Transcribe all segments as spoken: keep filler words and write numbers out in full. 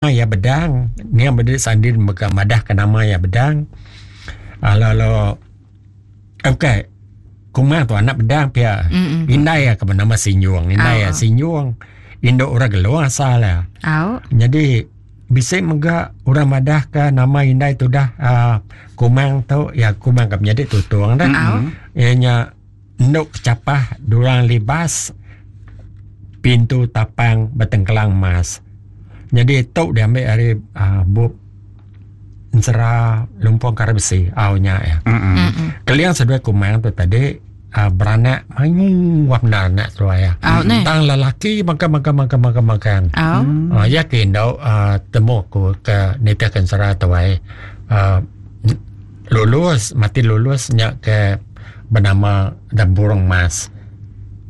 Iya Bedang, nia meda Sandin mega madah ke nama iya Bedang. Uh, lalu okey. Kumang tu anak Bedang pia. Mm-mm. Indai iya ke benama Sinjung, indai iya Sinjung. Indu orang Gelong asal iya. Au. Jadi bisi mega orang madah ke nama indai tu dah uh, Kumang tu ya Kumang ke menyadi Tutung dah. Au. Iya nya enduk kecapah durang libas pintu tapang betengkelang emas. Jadi tu diambil ari uh, bup Ensera Lumpong Kara Besi au nya ya. Mm-mm. Keling seduai Kumang tu tadi uh, beranak mayuh bendar anak seduai ya. Au neh. Tang lelaki maka maka maka maka makan. Au. Uh, ya ke indu uh, temu aku ke nitih ke ensera tu ai. Uh, lulus mati lulus nya ke bernama dan burung mas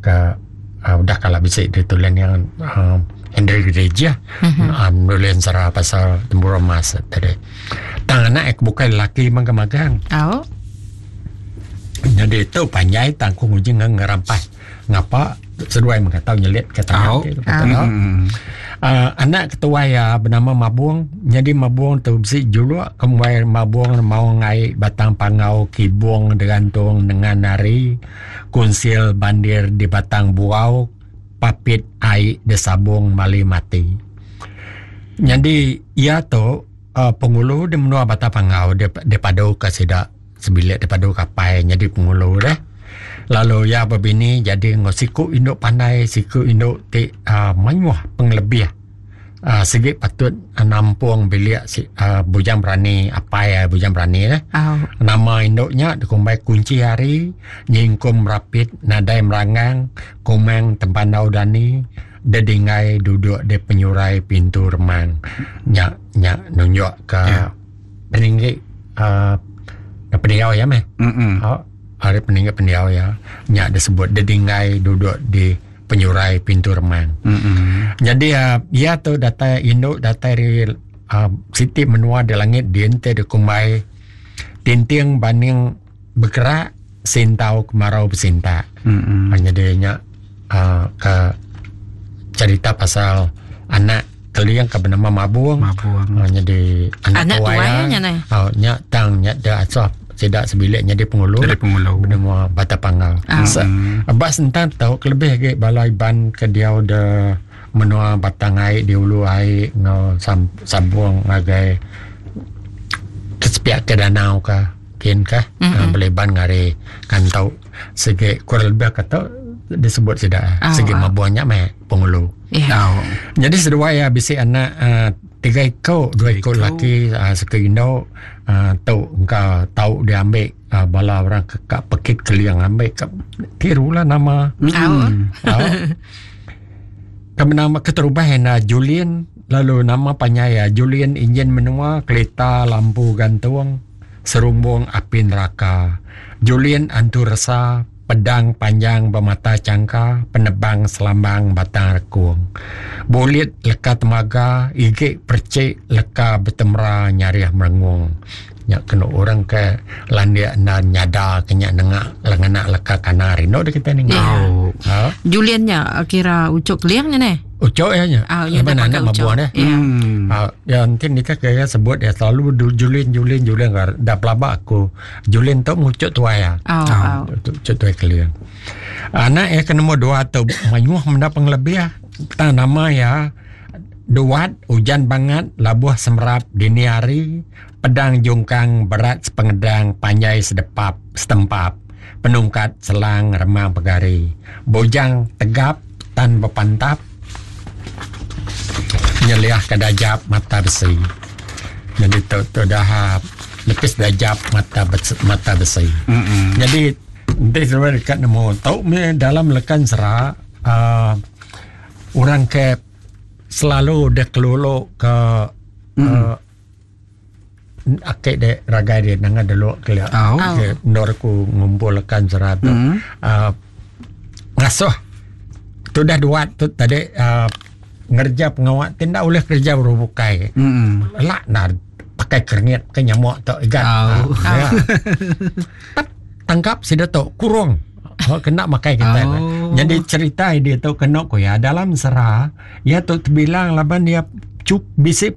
ke uh, udah kala bisi ditulis yang uh, Henry Gereja Mhm. um, nulis ensera pasal tempurung mas tadi. Tang anak aku bukan lelaki magang-magang. Au. Jadi itu panjai tang aku nguji ngerampas. Ngapa seduai mengkatau nyelit ke tangan Au. tu, kata tau. Mm. Uh, anak ketua ya bernama Mabung. Jadi Mabung tu bisi juluk kemuai Mabung mau ngai batang pangau kibung digantung dengan nari kunsil bandir di batang buau papit ai desabung mali mati. Jadi ia tu uh, pengulu di menua Batang Pangau dia dia padu ke sida sebilik dia padu kapai jadi pengulu deh. Lalu ia berbini jadi ngau siku induk pandai siku induk ti uh, mayuh pengelebih. Uh, segi patut uh, nampung bilik si, uh, bujang berani apai uh, bujang berani deh. Au. Nama induknya dikumbai kunci hari nyingkum rapit nadai merangang kumang tempandau dani dedingai duduk di penyurai pintu remang. Nya nya nunjuk ke Ya. peninggi uh, pendiau ya meh. Mm-mm. Oh, hari peninggi pendiau ya. Nya disebut dedingai duduk di penyurai pintu remang. Mm-mm. Jadi uh, ia tu datai induk datai dari uh, siti menua di langit diente di kumbai tinting baning bergerak sintau kemarau bersinta. Mm-mm. Hanya dia nya uh, ke cerita pasal anak Keling ke bernama Mabung. Mabung. Uh, jadi anak, Anak tuai tuai ya. nya neh. Oh, nya tang nya dia asal tidak sebilik nya dia pengulu. Jadi pengulu. Bernama Batang Pangau. Ah. Se- Abas tentang tahu kelebih lagi bala Iban ke dia de menua Batang Ai di ulu ai ngau sam, sambung ngagai ke sepiak ke danau ke kin ke Mm-mm. mm-hmm. uh, Iban ngari kan tau segi kurang lebih kata disebut sida Ah, segi ah. mabuannya meh pengulu. Ya. Au. Jadi seduai ya bisi anak uh, tiga ekor, dua ekor Tiga ekor. laki uh, seki induk uh, tau engkau tau dia ambil uh, bala orang ke kak pekit Keliang ambil ke tirulah nama. Au. Tau. Kami nama keterubah na Julian lalu nama panjai ya Julian Injin Menua Kelita Lampu Gantung Serumbung Api Neraka Julian Antu Resa Pedang Panjang Bermata Cangka Penebang Selambang Batang Rekung Bulit Leka Temaga Igik Percik Leka Betemra Nyariah Merengung. Nya kena orang ke landia dan nyada kenya nengak lenganak leka kana rino dia kita ni. Ya. Au. Ha. Julian nya kira ucuk Keling nya neh. Ucok ya nya. Au nya Laban dah anak pakai ucuk. mabuan eh. Ya. Mm. Ha, ya nanti nikah kaya sebut ya selalu du- Julin Julin Julin gar dah pelabak aku. Julin tu ngucuk tuai ya. Au au. Ucuk tuai kalian. Anak ya kena nombor dua tu mayuh menda pengelebih ah. Tang nama ya Duat hujan bangat labuh semerap dini hari pedang jungkang berat sepengedang panjai sedepap setempap penungkat selang remang pegari bojang tegap tan berpantap nyeliah kedajap mata besi. Jadi tu tu dah lepis dajap mata besi, mata besi. Mm-mm. Jadi nanti sebenarnya dekat nemu tahu me dalam lekan sera uh, orang ke selalu dia keluluk ke mm. uh, akik dek ragai dia nanga delok ke Au. ke ndor ku ngumpul lekan sera tu. Mm. Uh, ngasuh tu dah duat tu tadi uh, ngerja pengawak tindak boleh kerja berubukai. Mm-mm. Lak nak pakai kerengit pakai nyamuk tu igat. Au. Ah, ya. Tap, tangkap si datuk kurung. Oh, kena makai kita. Oh. Jadi cerita dia tu kena ko ya dalam sera ya tu terbilang laban dia Cuk bisi.